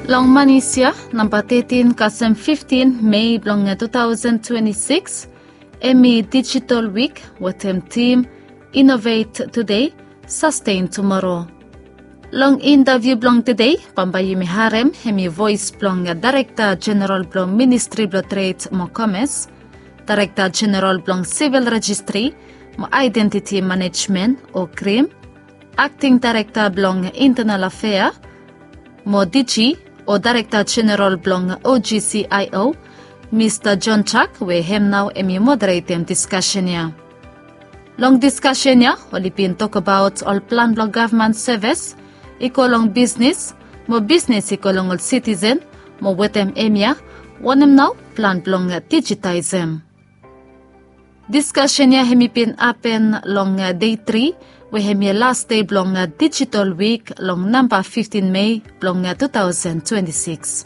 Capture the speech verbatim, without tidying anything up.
Long manis ya, namba tetin kasem fiftin Mei blong tu taosen twenti sikis, hemi Digital Week wetem tim Innovate Today, Sustain Tomorrow. Long intaviu blong tede, bambae yumi harem hemi voes blong Daerekta Jeneral blong Ministri blong Tred mo Komes, Daerekta Jeneral blong Sivil Rejistri mo Aedentiti Manejmen o krim, Akting Daerekta blong Intenal Afea mo DG o Daerekta Jeneral blong OGCIO, Mista John Chuck, we hem nao hemi moderetem diskasen ya. Long diskasen ya oli bin tokbaot ol plan blong gavman sevis i go long bisnis, mo bisnis i go long ol sitisen, mo wetem hemia wanem nao plan blong dijitaesem. Diskasen ya hemi bin hapen long dei tri, we hemi las dei blong Digital Week long namba fiftin Mei blong tu taosen twenti sikis.